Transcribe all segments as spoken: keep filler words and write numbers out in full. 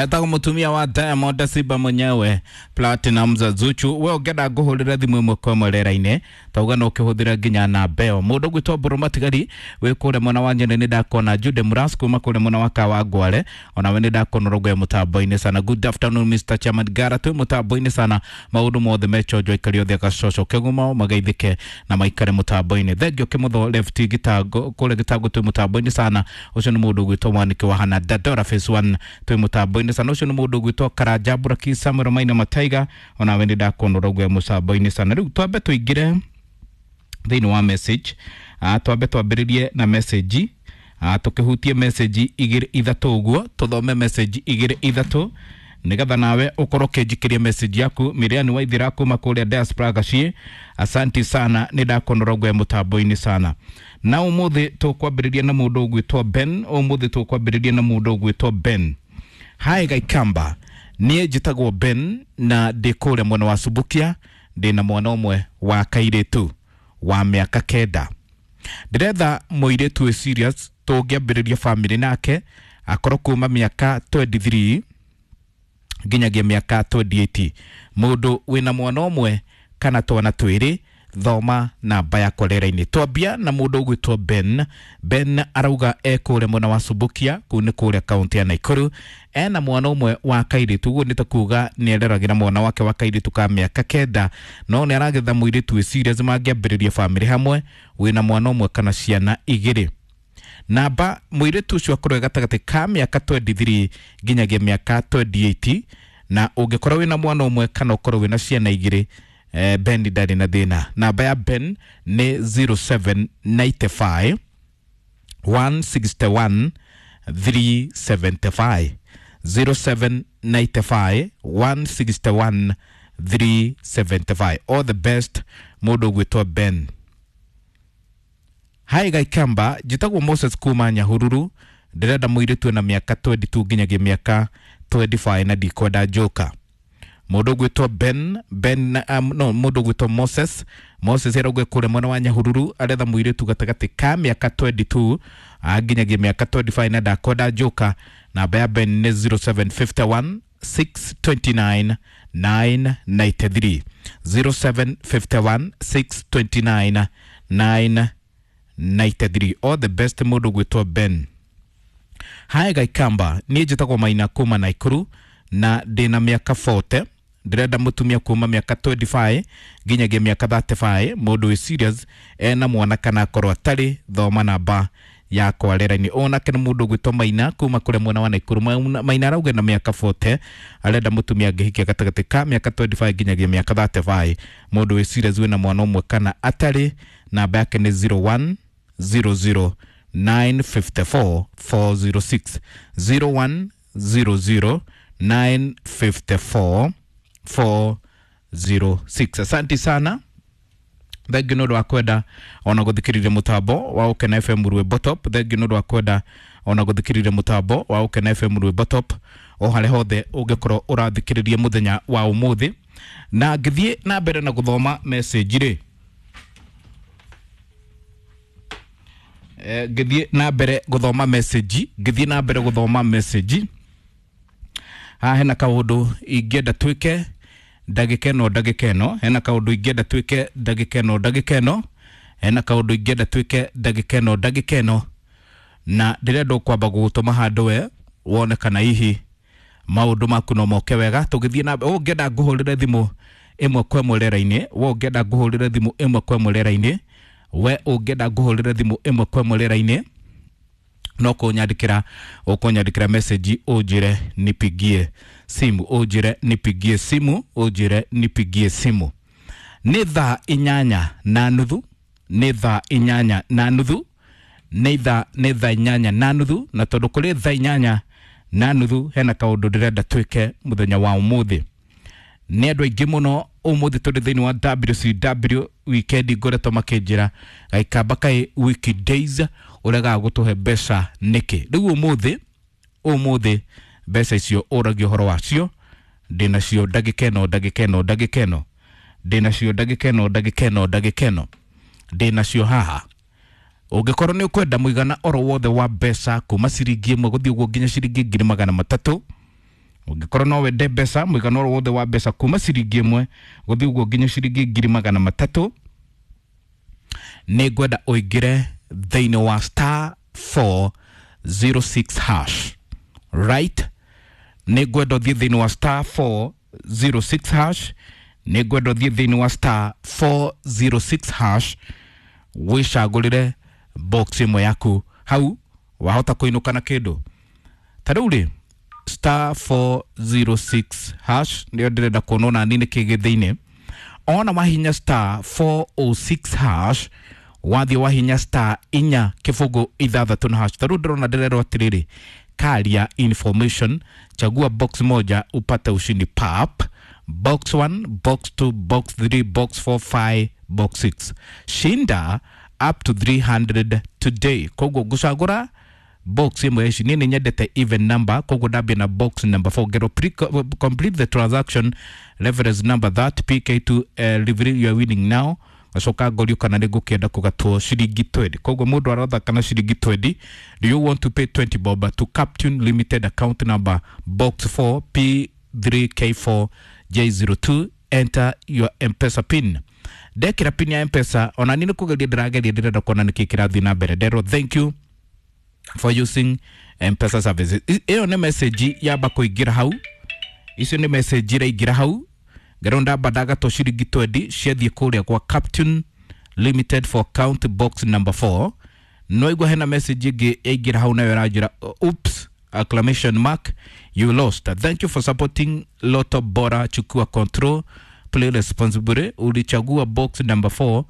Etagwo mutumia wa Diamond Simba mwenyewe Platinum za Zuchu. We ũngĩenda ngũhũrĩre thimũ ĩmwe kwa ĩmwe rĩera-inĩ, tauga no ũkĩhũthĩre nginya namba ĩyo. Mũndũ ũgwĩtwo Mbũrũ Matigari wĩ kũrĩa mwena wa Nyeri nĩ ndakona. Jude Muras kuma kũrĩa mwena wa Kawangware, onawe nĩ ndakona ũrauga wĩ mũtambo-inĩ sana. Good afternoon Mister Chairman Gara, twĩ mũtambo-inĩ sana, maũndũ mothe mechonjo aikari othe agacoco kĩgumo magaithĩke na maikare mũtambo-inĩ. Thengio Kĩmũtho left gĩtango kũrĩa gĩtango twĩ mũtambo-inĩ sana. Ũcio nĩ mũndũ ũgwĩtwo Mwaniki wa Hana Dadora phase one twĩ mũtambo-inĩ sana. Ũcio nĩ mũndũ ũgwĩtwo Karanja Buraki Samuel Maina Mataiga, onawe nĩ ndakona ũrauga wĩ mũtambo-inĩ sana. Rĩu twambe tũingĩre thĩinĩ wa message, ah, twambe twambĩrĩrie na message, ah, tũkĩhutie message igĩrĩ ithatũ ũguo, tũthome message igĩrĩ ithatũ nigetha nawe ukorwo ũkĩnjikĩria message yaku. Miriani Waithira kuma kũrĩa diaspora Gaciĩ, asanti sana, nĩ ndakona ũrauga wĩ mũtambo-inĩ sana. Na ũmũthĩ tũkwambĩrĩria na mũndũ ũgwĩtwo Ben. Ũmũthĩ tũkwambĩrĩria na mũndũ ũgwĩtwo Ben. Hi Gaikamba, niĩ njĩtagwo Ben na ndĩ kũrĩa mwena wa Subukia, ndĩ na mwana ũmwe wa kairĩtu wa mĩaka kenda. Ndĩretha mũirĩtu wĩ serious tũngĩambĩrĩria family nake, akorwo kuma mĩaka twenty-three nginyagia mĩaka twenty-eight, mũndũ wĩna mwana ũmwe kana twana twĩrĩ. Thoma namba yakwa rĩera-inĩ. Twambia na mũndũ ũgwĩtwo Ben. Ben arauga e kũrĩa mwena wa Subukia, kũu nĩ kũrĩa kaunti ya Nakuru, ena mwana ũmwe wa kairĩtu. Ũguo nĩ ta kuga nĩ areragĩra mwana wake wa kairĩtu ka mĩaka kenda, no nĩ aragetha mũirĩtu wĩ serious mangĩambĩrĩria family hamwe, wĩna mwana ũmwe kana ciana igĩrĩ. Namba mũirĩtu ũcio akorwo e gatagatĩ ka mĩaka twenty-three nginyagia mĩaka twenty-eight, na ũngĩkorwo wĩna mwana ũmwe kana ũkorwo wĩna ciana igĩrĩ, eh, Ben ndarĩ na thĩna. Namba ya Ben nĩ zero seven ninety five one sixty one three seventy five, zero seven ninety five one sixty one three seventy five. All the best mũndũ ũgwĩtwo Ben. Hi Gaikamba, njĩtagwo Moses kuma Nyahururu, ndĩrenda mũirĩtu ena mĩaka twenty-two nginyagia mĩaka twenty-five na ndikwenda njoka. Mũndũ ũgwĩtwo Ben, Ben, um, no, mũndũ ũgwĩtwo Moses, Moses arauga kũrĩa mwena wa Nyahururu, aretha mũirĩtu gatagatĩ ka mĩaka twenty-two nginyagia mĩaka twenty-five na ndakwenda njoka. Namba ya Ben nĩ zero seven fifty one six twenty-nine nine ninety-three, zero seven fifty one six twenty-nine nine ninety-three. All the best mũndũ ũgwĩtwo Ben. Hi Gaikamba, niĩ njĩtagwo Maina kuma Nakuru na ndĩna mĩaka forty, ndĩrenda mũtumia kuma mĩaka twenty-five nginyagia mĩaka thirty-five, mũndũ wĩ serious ena mwana kana akorwo atarĩ. Thoma namba yakwa rĩera-inĩ. Onake nĩ mũndũ ũgwĩtwo Maina kuma kũrĩa mwena wa Nakuru. Maina, Maina arauga na mĩaka forty, arenda mũtumia angĩhikia gatagatĩ ka mĩaka twenty-five nginyagia mĩaka thirty-five, mũndũ wĩ serious wĩna mwana ũmwe kana atarĩ. Namba yake nĩ zero one zero zero nine fifty four four zero six, zero one zero zero nine fifty four four zero six. Asante sana, thengiũ nĩ ũndũ wa kwenda ona gũthikĩrĩria mũtambo wa Ũkena F M Rwĩmbo Top. Thengiũ nĩ ũndũ wa kwenda ona gũthikĩrĩria mũtambo wa Ũkena F M Rwĩmbo Top o harĩa hothe ũngĩkorwo ũrathikĩrĩria mũthenya wa ũmũthĩ. Na ngĩthiĩ na mbere na gũthoma message rĩ, eh, ngĩthiĩ na mbere gũthoma message, ngĩthiĩ na mbere gũthoma message, haha hena kaũndũ ingĩenda twĩke ndagĩka ĩno, ndagĩka ĩno hena kaũndũ ingĩenda twĩke ndagĩka ĩno, ndagĩka ĩno hena kaũndũ ingĩenda twĩke ndagĩka ĩno, ndagĩka ĩno, na ndĩrenda kwamba gũgũtũma handũ we wone kana hihi maũndũ maku no moke wega. Tũgĩthiĩ na mbere, ũngĩenda ngũhũrĩre thimũ ĩmwe kwa ĩmwe rĩera-inĩ, we ũngĩenda ngũhũrĩre thimũ ĩmwe kwa ĩmwe rĩera-inĩ, we ũngĩenda ngũhũrĩre thimũ ĩmwe kwa ĩmwe rĩera-inĩ, no kũnyandĩkĩra, ũkũnyandĩkĩra message ũnjĩre nipigie simu, ũnjĩre nipigie simu, ũnjĩre nipigie simu. Nĩ thaa inyanya na nuthu, nĩ thaa inyanya na nuthu, nĩ thaa, nĩ thaa inyanya na nuthu, na tondũ kũrĩ thaa inyanya na nuthu hena kaũndũ ndĩrenda twĩke mũthenya wa ũmũthĩ. Nĩ andũ aingĩ mũno ũmũthĩ tũrĩ thĩinĩ wa W C W weekend ngoretwo makĩnjĩra Gaikamba kaĩ weekdays ũregaga gũtũhe mbeca nĩkĩ. Rĩu ũmũthĩ, ũmũthĩ mbeca icio ũragia ũhoro wacio, ndĩnacio ndagĩka ĩno, ndagĩka ĩno, ndagĩka ĩno, ndĩnacio ndagĩka ĩno, ndagĩka ĩno, ndagĩka ĩno, ndĩnacio haha. Ũngĩkorwo nĩ ũkwenda mũigana oro wothe wa mbeca kuma ciringi ĩmwe gũthiĩ ũguo nginya ciringi ngiri magana matatũ, Ũngĩkorwo no wende mbeca, mũigana oro wothe wa mbeca kuma ciringi ĩmwe gũthiĩ ũguo nginya ciringi ngiri magana matatũ, nĩ ngwenda ũingĩre thĩinĩ wa star four zero six hash, right? Nĩ ngwenda ũthiĩ thĩinĩ wa star four zero six hash, nĩ ngwenda ũthiĩ thĩinĩ wa star four zero six hash, wĩcagũrĩre box ĩmwe yaku hau wahota kũinũka na kĩndũ. Ta rĩu rĩ, star four zero six hash nĩyo ndĩrenda kuona ona nĩ kĩ gĩ thĩinĩ. Ona wahinya star four oh six hash, wathiĩ wahinya star inya kĩbũgũ ithathatũ na hash. Ta rĩu ndĩrona ndĩrerwo atĩrĩrĩ, karia information, chagua box moja upate ushindi pap, box one, box two, box three, box four, five, box six, shinda up to three hundred today. Koguo ngũcagũra box ĩmwe ici, niĩ nĩ nyendete even number, koguo ndambia na box number four. Ngero pre complete the transaction, reference number that P K two, uh, reveal you are winning now. Gacoka ngorio kana nĩ ngũkĩenda kũgatwo ciringi twenty. Koguo mũndũ arathaka na ciringi twenty. Do you want to pay twenty bob to Captain Limited account number box four P three K four J zero two, enter your M-Pesa pin. Ndekĩra pin ya M-Pesa, ona niĩ nĩ kũgeria ndĩrageria, ndĩrenda kuona nĩkĩ kĩrathiĩ na mbere. Nderwo thank you for using M-Pesa services. Ĩyo nĩ message yamba kũingĩra hau, icio nĩ message iraingĩra hau. Ngerwo ndamba ndagatwo ciringi twenty ciathiĩ kũrĩa kwa Captain Limited for account box number four. No igua hena message ĩngĩ yaingĩra hau nayo ĩranjĩra oops exclamation mark, you lost. Thank you for supporting Lotto Bora, chukua control, play responsibly. Ulichagua box number four,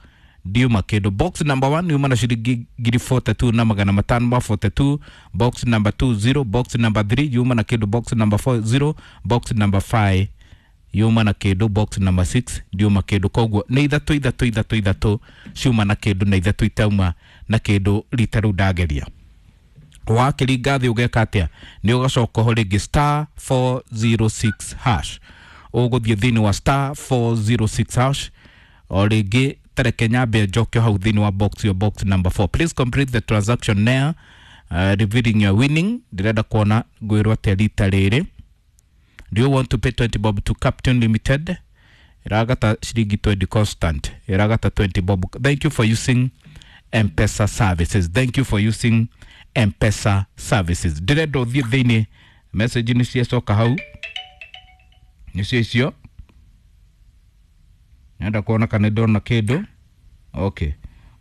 ndiuma kĩndũ. Box number one yuma na ciringi ngiri forty-two na magana matano ma forty-two, box number two zero, box number three yuma na kĩndũ, box number four zero, box number five yuma na kĩndũ, box number six ndiuma kĩndũ. Koguo nĩ ithatũ ithatũ ithatũ ithatũ ciuma na kĩndũ na ithatũ itauma na kĩndũ rita rĩu ndageria. Wakĩringa thĩ ũgeka atĩa? Nĩ ũgacoka ho rĩngĩ star four zero six hash, ũgũthiĩ thĩinĩ wa star four zero six hash o rĩngĩ. Tareke nyambe njoke hau thĩinĩ wa box, your box number four. Please complete the transaction now, uh, revealing your winning. Ndĩrenda kuona ngwĩrwo atĩa rita rĩrĩ. Do you want to pay twenty bob to Captain Limited? Iragata ciringi twenty constant, iragata twenty bob. Thank you for using M-Pesa services. Thank you for using M-Pesa services. Ndĩrenda ũthiĩ thĩinĩ, message nĩ ciacoka hau, nĩcio icio. Nenda kuona kana ndona kĩndũ. Okay,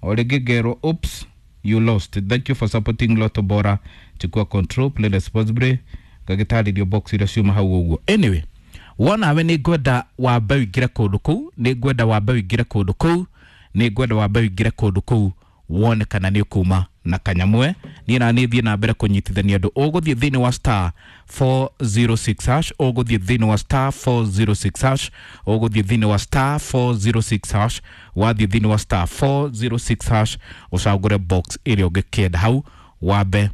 o rĩngĩ ngerwo oops you lost. Thank you for supporting Lotto Bora, chukua control, play responsibly. Ngagĩtarĩrio box iria ciuma hau ũguo. Anyway, wona we nĩ ngwenda wambe ũingĩre kũndũ kũu, nĩ ngwenda wambe ũingĩre kũndũ kũu, nĩ ngwenda wambe ũingĩre kũndũ kũu wone kana nĩ ũkuma na kanyamwe. Niĩ na niĩ thiĩ na mbere kũnyitithania andũ. Ũgũthiĩ thĩinĩ wa star four zero six hash, ũgũthiĩ thĩinĩ wa star four zero six hash, ũgũthiĩ thĩinĩ wa star four zero six hash, wathiĩ thĩinĩ wa star four zero six hash ũcagũre box ĩrĩa ũngĩkĩenda hau, wambe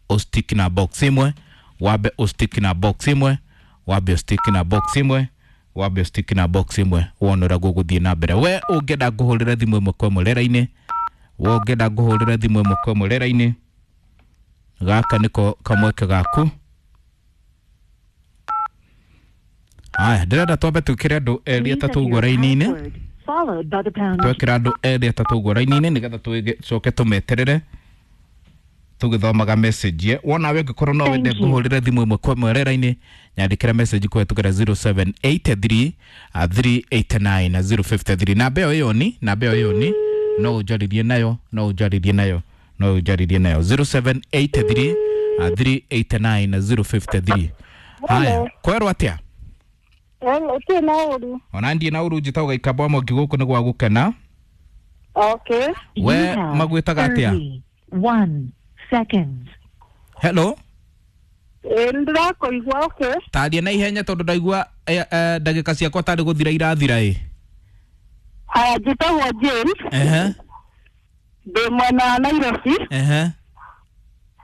ũstick na box ĩmwe, wambe ũstick na box ĩmwe, wambe ũstick na box ĩmwe, wambe ũstick na box ĩmwe, wone ũrĩa gũgũthiĩ na mbere. We ũngĩenda ngũhũrĩre thimũ ĩmwe kwa ĩmwe rĩera-inĩ, we ũngĩenda ngũhũrĩre thimũ ĩmwe kwa ĩmwe rĩera-inĩ, gaka nĩko kamweke gaku. Aya, ndĩrenda twambe twĩkĩre andũ erĩ atatũ ũguo raini-inĩ, twekĩra andũ erĩ atatũ ũguo raini-inĩ nĩgetha tũcoke tũmeterere tũgĩthomaga message. Wona we ũngĩkorwo no wende ngũhũrĩre thimũ ĩmwe kwa ĩmwe rĩera-inĩ, nyandĩkĩra message kũhetũkĩra zero seven eight three three eight nine zero five three. Namba ĩyo ĩyo ni, namba ĩyo ĩyo ni, no ũnjarĩrie nayo, no ũnjarĩrie nayo, no ũnjarĩrie nayo zero seven eight three three eight nine zero five three. Haya, kwerwo atĩa? Hello, ti na ũru. Ona ndiĩ na ũru, njĩtagwo Gaikamba wa Mwangi, gũkũ nĩ gwa gũkena. Okay. We magwĩtaga atĩa? One seconds. Hello. Eh, ndĩrakũigua. Okay. Taria na ihenya tondũ ndaigua ndagĩka ciakwa tarĩ gũthira irathira ĩ. Haya, njĩtagwo James. Ehe. Ndĩ mwena wa Nairobi. Ehe.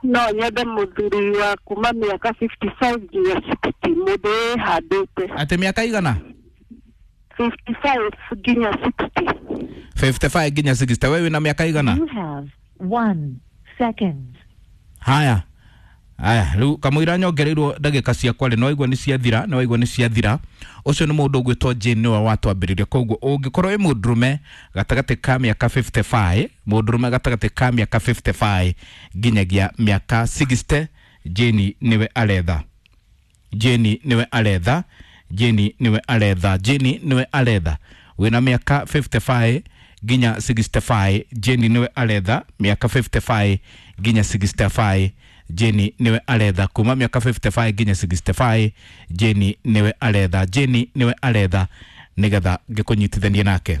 No nyende mũthuri wa kuma mĩaka fifty-five nginya sixty, mũndũ wĩhandĩte. Atĩ mĩaka igana? fifty-five nginya sixty. fifty-five nginya sixty. We wĩna mĩaka igana? You have one second. Haya, Aya, rĩu kamũira nyongereirwo ndagĩka ciakwa rĩ, nĩwaigua nĩ ciathira, nĩwaigua nĩ ciathira. Ũcio nĩ mũndũ ũgwĩtwo Jane nĩwe watwambĩrĩria. Koguo ũngĩkorwo wĩ mũndũrũme gatagatĩ ka mĩaka mĩrongo ĩtano na ithano, mũndũrũme gatagatĩ ka mĩaka mĩrongo ĩtano na ithano nginyagia mĩaka mĩrongo ĩnana, Jane nĩwe aretha, Jane nĩwe aretha, Jane nĩwe aretha, Jane nĩwe aretha. Wĩna mĩaka mĩrongo ĩtano na ithano nginya mĩrongo ĩnana na ithano, Jane nĩwe aretha. Mĩaka mĩrongo ĩtano na ithano nginya mĩrongo ĩnana na ithano, Jane nĩwe aretha. Kuma mĩaka mĩrongo ĩtano na ithano nginya mĩrongo ĩnana na ithano, Jane nĩwe aretha, Jane nĩwe aretha, nĩgetha ngĩkũnyitithanie nake.